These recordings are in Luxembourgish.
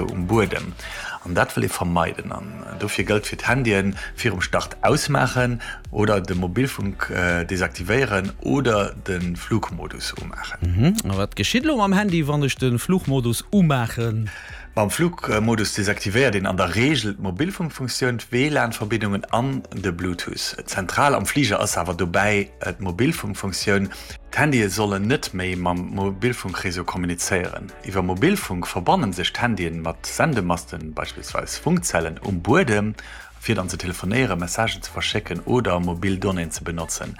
Um Buedem. An dat wëll ee vermeiden. An dofir gëllt fir d'Handyen, virum Start ausmaachen oder de Mobilfunk desaktivéieren oder de Flugmodus umaachen. A wat geschitt elo mam Handy, wann ech de Flugmodus umaachen? Mam Flugmodus desaktivéiert een an der Reegel d'Mobilfunkfunktioun, d'WLAN-Verbindungen an de Bluetooth. Zentral am Fliger ass awer dobäi d'Mobilfunkfunktioun. D'Handye sollen net méi mam Mobilfunkreseau kommunizéieren. Iwwer Mobilfunk verbannen sech d'Handyen mat Sendemasten, beispillsweis Funkzellen, um Buedem, fir dann ze telefonéieren, Messagen ze verschécken oder mobil Donnéeën ze benotzen.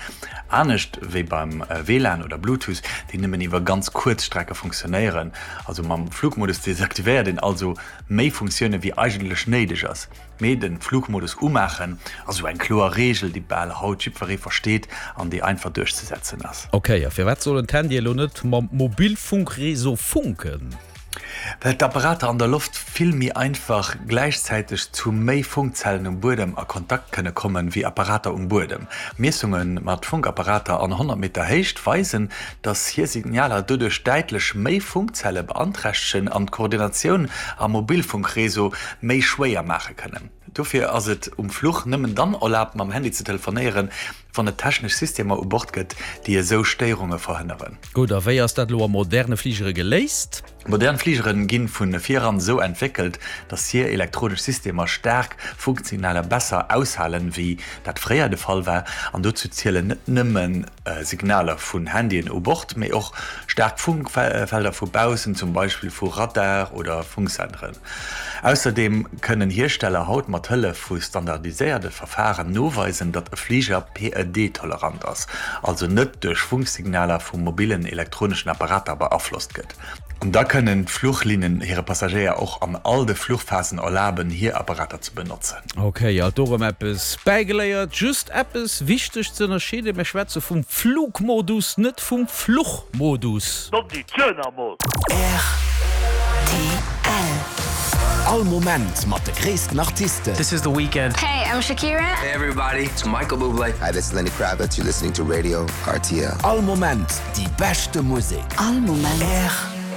Anescht wéi beim WLAN oder Bluetooth, déi nëmmen iwwer ganz kuerz Strecke funktionéieren. Also mam Flugmodus desaktivéiert een also méi Funktioune wéi eigentlech néideg ass. Mee den Flugmodus umaachen ass esou eng kloer Reegel, déi bal haut jiddweree versteet an déi einfach duerchzesetzen ass. Ok, a firwat sollen d'Handye elo net mam Mobilfunkreseau funken? Well d'Apparater an der Loft vill méi einfach gläichzäiteg zu méi Funkzellen um Buedem a Kontakt kënne kommen, wéi Apparater um Buedem. Miessunge mat Funkapparater an 100 Meter Héicht weisen, dass hir Signaler doduerch däitlech méi Funkzelle beanträchtegen an d'Koordinatioun am Mobilfunkreseau méi schwéier maache kënnen. Dofir ass et um Fluch nëmmen dann erlaabt mam Handy ze telefonéieren, wann et technesch Systemer u Bord gëtt, déi esou Stéierunge verhënneren. Gutt, a wéi ass dat elo a moderne Fligere geléist? Modern Fligere gi vu viran esou entwéckelt, datt hir elektronesch Systemer staark Funksignaler besser aushalen, wéi dat fréier de Fall war. An dozou zielen net nëmme Signaler vun Handyen u Bord, mee och staark Funkfelder vu baussen, zum Beispill vu Radar oder Funksenderen. Ausserdeem kënnen Hiersteller haut mat Hëllef vu standardiséierte Verfaren noweisen, datt e Fliger PED-tolerant ass, also net duerch Funksignaler vu mobillen elektroneschen Apparater beaflosst gëtt. An da kënnen d'Fluchlinnen hire Passagéier och an all de Fluchphasen erlaben, hir Apparater ze benotzen. Ok, alt do rëm eppes bäigeléiert. Just eppes wichteg ze ënnerscheeden, Mir schwätze vum Flugmodus, net vum Fluchmodus. Rtl. All Moment mat de gréissten Artisten. This is The Weeknd. Hey, I'm Shakira. Hey everybody, it's Michael Bublé. Hi, this is Lenny Kravitz. You're listening to Radio RTL. All Moment déi beschte Musek. All Moment.